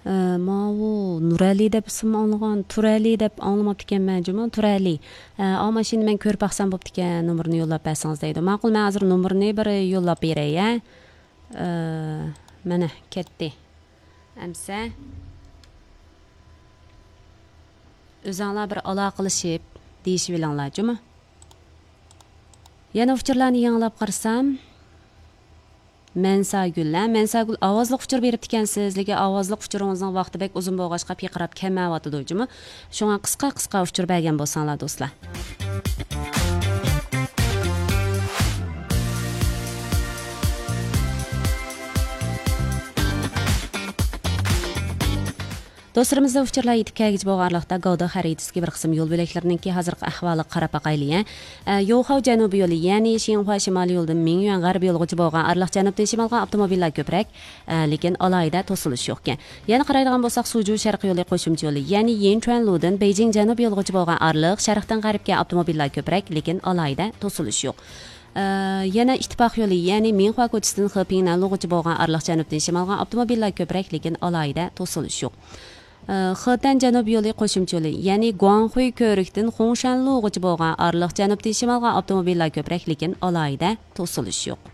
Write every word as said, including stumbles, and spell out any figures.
ئە، ماۋۇ نۇرئەلى دەپ ئىسىم ئاڭلىغان، تۇرئەلى دەپ ئاڭلىماپتىكەنمەن جۇمۇ، تۇرئەلى. ئە، ئا، ماشىنىنى مەن كۆرۈپ باقسام بوپتىكەن، نومۇرىنى يوللاپ بەرسىڭىز دەيدۇ. ماقۇل، مەن ھازىر نومۇرىنى بىر يوللاپ بېرەي، ھە. ئە، مانا، كەتتى. ئەمسە ئۆزۈڭلار بىر ئالاقىلىشىپ دېيىشىۋېلىڭلار جۇمۇ. يەنە ئۇچۇرلارنى يېڭىلاپ قارىسام، مەنساگۈل، ھە، مەنساگۈل، ئاۋازلىق ئۇچۇر بېرىپتىكەنسىز، لېكىن ئاۋازلىق ئۇچۇرىڭىزنىڭ ۋاقتى بەك ئۇزۇن بولغاچقا پىرقىراپ كەلمەيۋاتىدۇ جۇمۇ. شۇڭا قىسقا قىسقا ئۇچۇر بەرگەن بولساڭلار، دوستلار. دوستلىرىمىزدىن ئۇچۇرلار يېتىپ كەلگۈچە بولغان ئارىلىقتا گاۋداق خەرىتىسىدىكى بىر قىسىم يول بۆلەكلىرىنىڭكى ھازىرقى ئەھۋالىغا قاراپ باقايلى، ھە. ئە، يوخاۋ جەنۇبىي يولى، يەنى شىنخۇا شىمالىي يولىدىن مىڭيۈەن غەربىي يولغىچە بولغان ئارىلىق جەنۇبتىن شىمالغا ئاپتوموبىللار كۆپرەك، ئە، لېكىن ئالاھىدە توسۇلۇش يوقكەن. يەنە قارايدىغان بولساق، سۇجۇ شەرقىي يولى قوشۇمچە يولى، يەنى يىنچۈەن لۇدىن بېيجىڭ جەنۇبىي يولغىچە بولغان ئارىلىق شەرقتىن غەربكە ئاپتوموبىللار كۆپرەك، لېكىن ئالاھىدە توسۇلۇش يوق. ئە، يەنە ئىتتىپاق يولى، يەنى مىڭخۇا كوچىسىدىن خېپىڭنەن لۇغۇچە بولغان ئارىلىق جەنۇبتىن شىمالغا ئاپتوموبىللار كۆپرەك، لېكىن ئالاھىدە توسۇلۇش يوق. ئە، خېتەن جەنۇبىي يولى قوشۇمچە يولى، يەنى گۇاڭخۇي كۆۋرۈكتىن خۇڭشەن لۇغۇچە بولغان ئارىلىق جەنۇبتىن شىمالغا ئاپتوموبىللار كۆپرەك، لېكىن ئالاھىدە توسۇلۇش يوق.